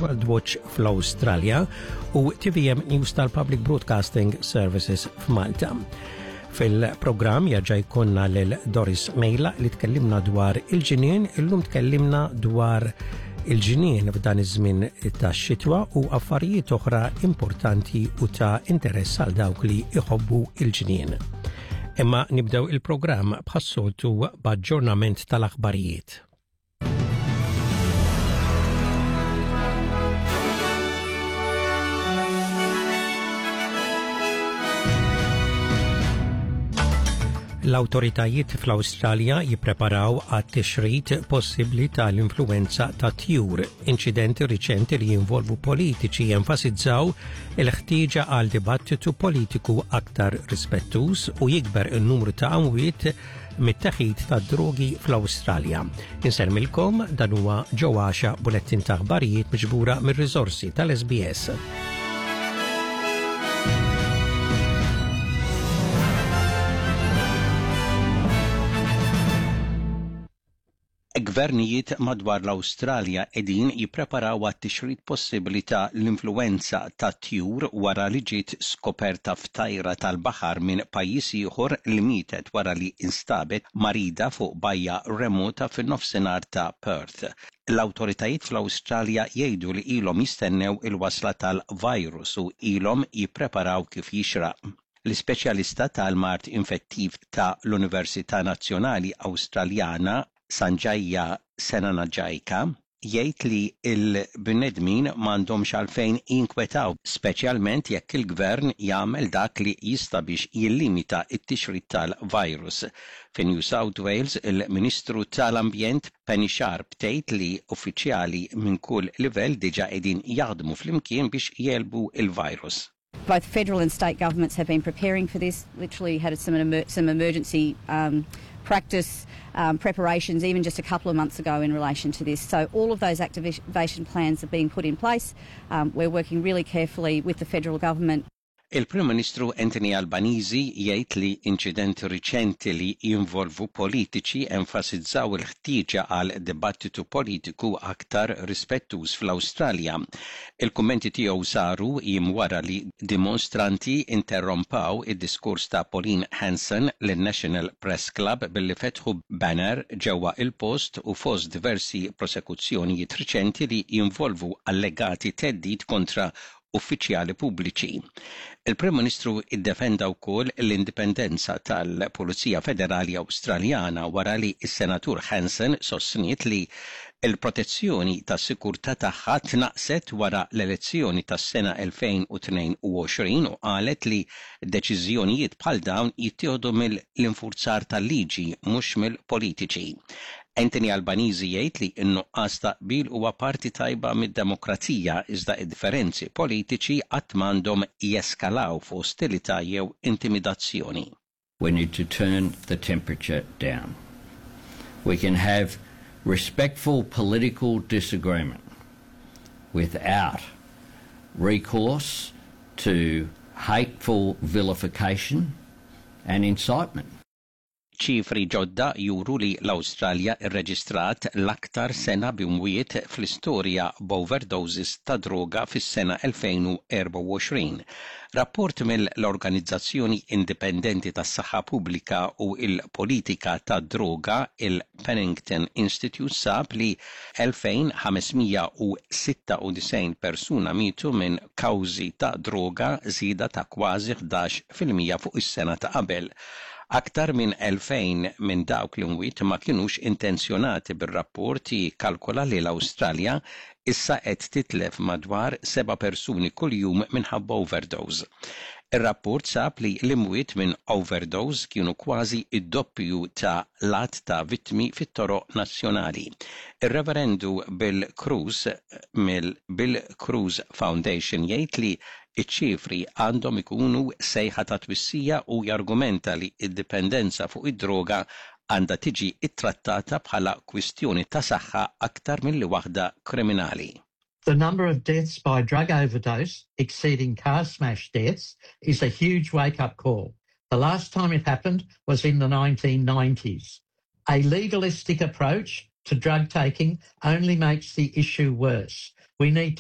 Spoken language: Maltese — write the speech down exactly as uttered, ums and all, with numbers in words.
World Watch fl-Awstralja u T V M News tal-Public Broadcasting Services f'Malta. Fil-programm jerġa' jkollna lil Doris Mejla li tkellimna dwar il-ġinien, illum tkellimna dwar il-ġinien f'dan iż-żmien tax-xitwa u affarijiet oħra importanti u ta' interess għal dawk li iħobbu il-ġinien. Imma nibdew il-programm bħas-soltu b'aġġornament tal-aħbarijiet. L-autoritajiet fl-Awstralja jippreparaw għat-tixrid possibbli tal-influenza ta' tjur. Inċidenti riċenti li jinvolvu politiċi jenfasizzaw il-ħtieġa għal dibattitu politiku aktar rispettuż u jikber in-numru ta' amwiet mit-teħid ta' drogi fl-Awstralja. Insellmilkom, dan huwa ġewwaxa bulettin ta' aħbarijiet miġbura mir-riżorsi tal-S B S. Gvernijiet madwar l-Awstralja qegħdin jippreparaw għat-tixrid possibbli ta' l-influenza ta' tjur wara li ġiet skoperta f'tajra tal-baħar minn pajjiż ieħor li mietet wara li instabet marida fuq bajja remota fin-nofsinhar ta' Perth. L-awtoritajiet fl-Awstralja jgħidu li ilhom jistennew il-wasla tal-virus u ilhom jippreparaw kif jixraq. L-ispeċjalista tal-mard infettiv ta' l-Università Nazzjonali Awstraljana, Sanjaya Senanayake, jgħid li l-bnedmin m'għandhomx għalfejn jinkwetaw, speċjalment jekk il-gvern jagħmel dak li jista' biex jillimita t-tixrid tal-virus. Fi New South Wales, il-Ministru tal-Ambjent Penny Sharp tgħid li uffiċjali minn kull livell diġà qegħdin jaħdmu flimkien biex jegħlbu il-virus. Both federal and state governments have been preparing for this, literally had some, emer some emergency um, practice um, preparations even just a couple of months ago in relation to this. So all of those activation plans are being put in place. Um, we're working really carefully with the federal government. Il-Prim Ministru Anthony Albanese jgħid li inċidenti riċenti li jinvolvu politiċi enfasizzaw il-ħtieġa għal dibattitu politiku aktar rispettuż fl-Awstralja. Il-kummenti tiegħu saru jiem wara li dimostranti interrompaw id-diskors ta' Pauline Hanson lin-National Press Club billi fetħu banner ġewwa il-post u fost diversi prosekuzzjonijiet riċenti li jinvolvu allegati theddid kontra uffiċjali pubbliċi. Il-Prim Ministru iddefenda wkoll l-indipendenza tal-Pulizija Federali Awstraljana wara li s-Senatur Hanson sostniet li il-protezzjoni tas-sikurtà tagħha tnaqset wara l-elezzjoni tas-sena elfejn u tnejn u għoxrin u qalet li deċiżjonijiet bħal dawn jittieħdu mill-infurzar tal-liġi, mhux mill-politiċi. Anthony Albanese jgħid li n-nuqqas ta' qbil huwa parti tajba mid-demokrazija, iżda id-differenzi politiċi qatt m'għandhom jeskalaw f'ostilità jew intimidazzjoni. We need to turn the temperature down. We can have respectful political disagreement without recourse to hateful vilification and incitement. Ċifri ġodda juru li l-Awstralja irreġistrat l-aktar sena b'imwiet fl-istorja b'overdoses ta' droga fis-sena elfejn u erbgħa u għoxrin. Rapport mill-Organizzazzjoni Indipendenti tas-Saħħa Pubblika u l-Politika tad-Droga, il-Pennington Institute, sab li elfejn ħames mija u sitta u disgħin persuna mietu minn kawżi ta' droga, żieda ta' kważi ħdax fil-mija fuq is-sena ta' qabel. Aktar minn elfejn minn dawk l-imwiet ma kienux intenzjonati, bir-rapport jikkalkola li l-Awstralja issa qed titlef madwar seba' persuni kuljum minħabba overdose. Ir-rapport sab li l-imwiet minn overdose kienu kważi id-doppju ta' l-għadd ta' vittmi fit-toroq nazzjonali. Ir-Reverendu Bill Crews mill-Bill Crews Foundation jgħid li iċ-ċifri għandhom ikunu sejħa ta' twissija u jargumenta li id-dipendenza fuq id-droga għandha tiġi ittrattata bħala kwistjoni ta' saħħa aktar milli waħda kriminali. The number of deaths by drug overdose exceeding car smash deaths is a huge wake-up call. The last time it happened was in the nineteen nineties. A legalistic approach to drug taking only makes the issue worse. We need to